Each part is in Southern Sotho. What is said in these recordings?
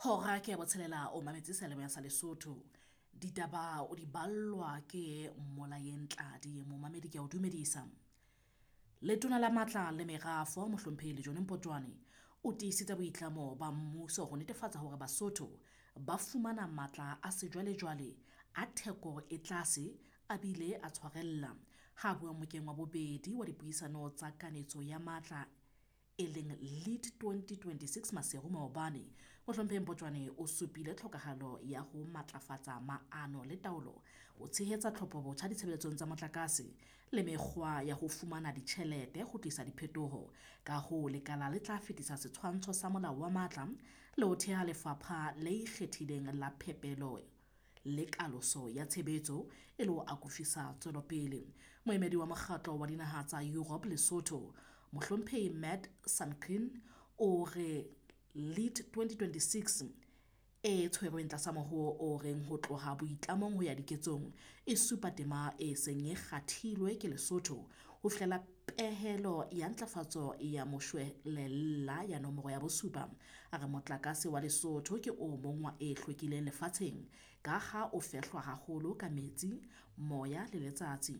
Hora ke ya botshelela o mametse seyalemoya sa Lesotho. Ditaba o di ballwa ke Mmolayeng Tladi momamedi ke a o dumedisa. Letona la Matla le Merafo Mohlomphehi Lejone Mpotjoane o tiisitse boitlamo ba mmuso ho netefatsa hore Basotho ba fumana matla a sejwalejwale a theko e tlase a bile a tshwarella. Ha bua mokeng wa bobedi wa dipuisano tsa kanetso ya matla e leng Lead 2026 Maseru maobane, Mohlomphehi Mpotjoane o supile tlhokahalo ya ho matlafatsa maano le taolo ho tshehetsa tlhopho botjha ditshebeletsong tsa motlakase le mekgwa ya ho fumana ditjhelete ho tlisa diphetoho. Ka hoo lekala le tla fetisa setshwantsho sa molao wa matla le ho theha lefapha le ikgethileng la phepelo le kaloso ya tshebetso e le ho akofisa tswelopele. Moemedi wa mokgatlo wa dinaha tsa Europe Lesotho, Mohlomphehi Matt Sankin o re Lead 2026 e tshwerweng tlasa mohoo o reng ho tloha boitlamong ho ya diketsong e supa tema e seng e kgathilwe ke Lesotho ho fihlela pehelo ya ntlafatso ya moshwelella ya nomoro ya bosupa. A re motlakase wa Lesotho ke o mong wa e hlwekileng lefatsheng ka ha o fehlwa haholo ka metsi, moya le letsatsi.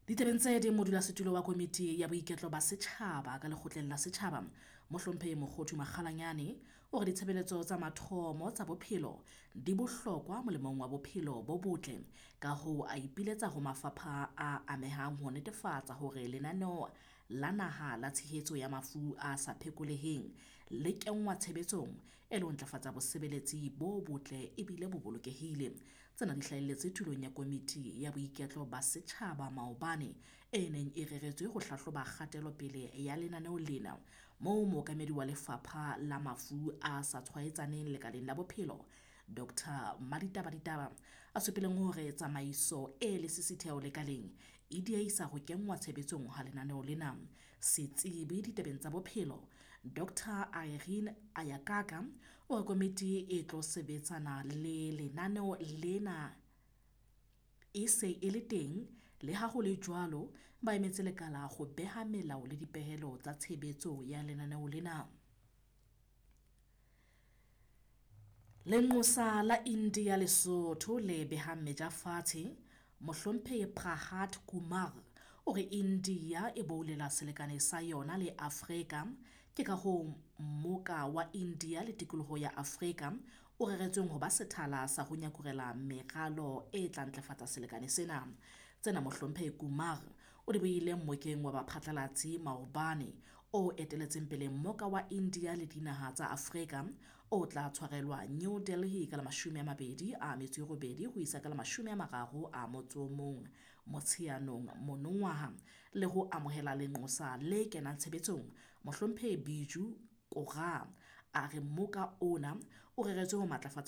Ditabeng tse ding, modulasetulo wa komiti ya boiketlo ba setjhaba ka lekgotleng la setjhaba, Mohlomphehi Mokgothu Makgalanyane o re ditshebeletso tsa mathomo tsa bophelo di bohlokwa molemong wa bophelo bo botle. Ka hoo a ipiletsa ho mafapha a amehang ho netefatsa hore lenaneo la naha la tshehetso ya mafu a sa phekoleheng le kenngwa tshebetsong e le ho ntlafatsa bosebeletsi bo botle ebile bo bolokehile. Tsena di hlahelletse tulong ya komiti ya boiketlo ba setjhaba maobane e neng e reretswe ho hlahloba kgatelopele ya lenaneo lena moo mookamedi wa lefapha la mafu a sa tshwaetsaneng lekaleng la bophelo Dr Maditaba Ditaba a supileng hore tsamaiso e lesisitheho lekaleng e diehisa ho kenngwa tshebetsong ha lenaneo lena. Setsebi ditabeng tsa bophelo Dr Irene Ayakaka o re komiti e tlo sebetsana le lenaneo lena e se e le teng le ha ho le jwalo ba emetse lekala ho beha melao le dipehelo tsa tshebetso ya lenaneo lena. Lenqosa la India Lesotho le behang meja fatshe, Mohlomphehi Pralhad Kumar o re India e boulela selekane sa yona le Afrika ke ka hoo mmoka wa India le tikoloho ya Afrika o reretsweng ho ba sethala sa ho nyakurela meralo e tla ntlafatsa selekane sena. Tsena Mohlomphehi Kumar o di buile mmokeng wa baphatlalatsi maobane o eteletseng pele mmoka wa India le dinaha tsa Afrika o tla tshwarelwa New Delhi ka la 28 ho isa ka la 31 Motsheanong monongwaha le ho amohela lenqosa le kenang tshebetsong Mohlomphehi Biju Koga. A re mmoka ona o reretswe ho matlafatsa